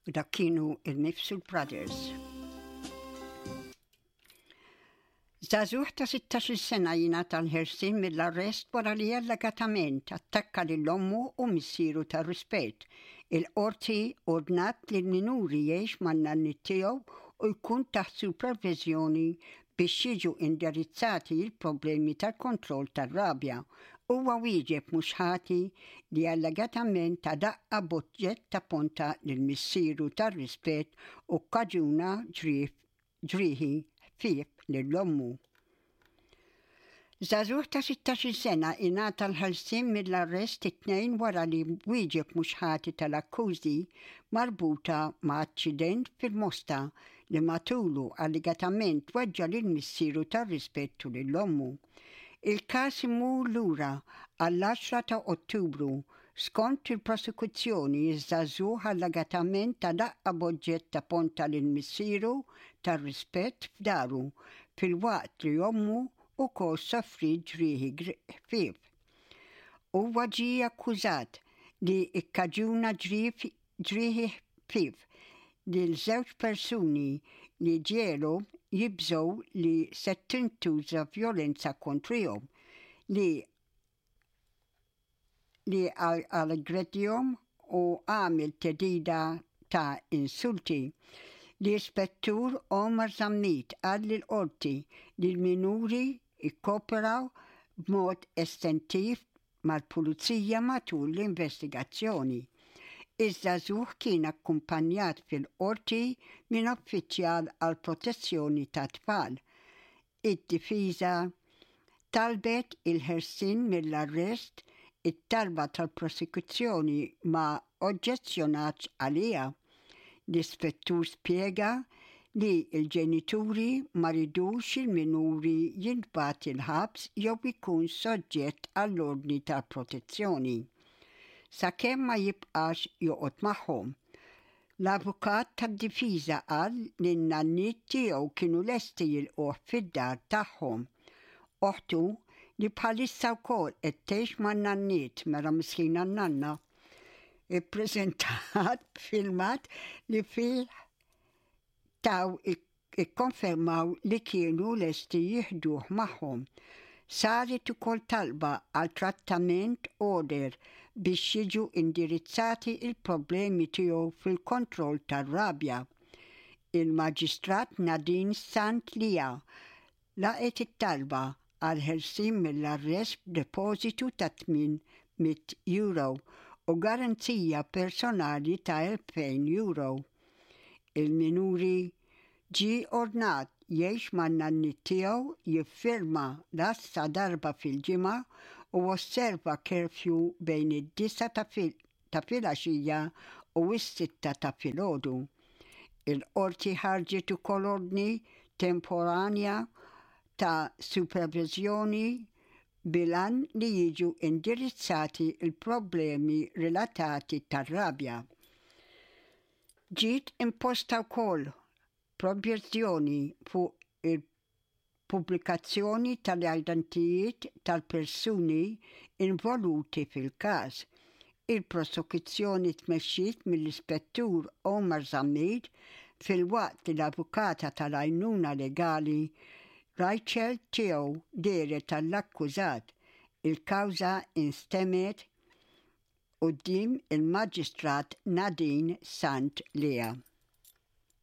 U dak kienu il-Mifsud Brothers. Żagħżugħ ta' 16-il sena jingħata l-ħelsien mill-arrest wara li allegatament attakka lil ommu u missieru tar-rispett. Il-Qorti ordnat li l-minuri jgħix man-nanniet tiegħu u jkun taħt superviżjoni biex jiġu indirizzati l-problemi tal-kontroll tar-rabja. Huwa wieġeb mhux ħati li allegatament ta daqqa b'oġġett ta' ponta lil missieru tar-rispett u kkaġuna ġrieħ ġrieħi ħfief lil ommu. Żagħżugħ ta' 16-il sena ingħata l-ħelsien mill-arrest it-Tnejn wara li wieġeb mhux ħati tal-akkużi marbuta ma' aċċident fil-Mosta li matulu allegatament weġġa' lil missieru tar-rispett u lil ommu. Il-każ imur lura għall-10 ta' Ottubru Skont il-prosekuzzjoni, iż-żagħżugħ allegatament ta daqqa b'oġġett ta' ponta lil missieru tar-rispett f'daru, filwaqt li ommu wkoll sofriet ġrieħi ħfief. Huwa ġie akkużat li kkaġuna ġrieħi ħfief lil żewġ persuni li ġiegħelhom jibżgħu li se tintuża vjolenza kontrihom, li li aggredihom u għamel theddida ta' insulti. L-Ispettur Omar Zammit qal lill-Qorti li l-minuri kkooperaw b'mod estentiv mal-Pulizija matul l-investigazzjoni. Iż-żagħżugħ kien akkumpanjat fil-Qorti minn uffiċjal għall-protezzjoni tat-tfal. Id-difiża talbet il-ħelsien mill-arrest, it-talba tal-prosekuzzjoni ma oġġezzjonatx għaliha. L-ispettur spjega li l-ġenituri ma ridux il-minuri jintbagħat il-ħabs jew ikun soġġett għall-ordni ta' protezzjoni sakemm ma jibqax joqgħod magħhom. L-avukat tad-difiża qal li n-nanniet tiegħu kienu lesti jilqugħ fid-dar tagħhom. Oħtu, li bħalissa wkoll qed tgħix man-nanniet, mela miskina n-nanna, ippreżentat filmat li fih taw ikkonfermaw li kienu lesti jieħduh magħhom. Saret ukoll talba għal trattament order biex jiġu indirizzati l-problemi tiegħu fil-kontroll tar-rabja. Il-Maġistrat Nadine Sant Lia laqgħet it-talba għall-ħelsien mill-arrest b'depożitu ta' 800 euro u garanzija personali ta' 2,000 euro. Il-minuri ġie ordnat jgħix man-nanniet tiegħu, jiffirma l-għassa darba fil-ġimgħa u osserva curfew bejn id-disgħa ta' ta' filgħaxija u s-sitta ta' filgħodu. Il-Qorti ħarġet ukoll ordni temporanja ta' superviżjoni bil-għan li jiġu indirizzati l-problemi relatati tar-rabja. Ġiet imposta wkoll projbizzjoni fuq il-pubblikazzjoni tal-identijiet tal-persuni involuti fil-każ. Il-prosekuzzjoni tmexxiet mill-Ispettur Omar Zammit filwaqt li l-avukata tal-għajnuna legali Rachel Theo dehret għall-akkużat. Il-kawża instemgħet quddiem il-Maġistrat Nadine Sant Lea.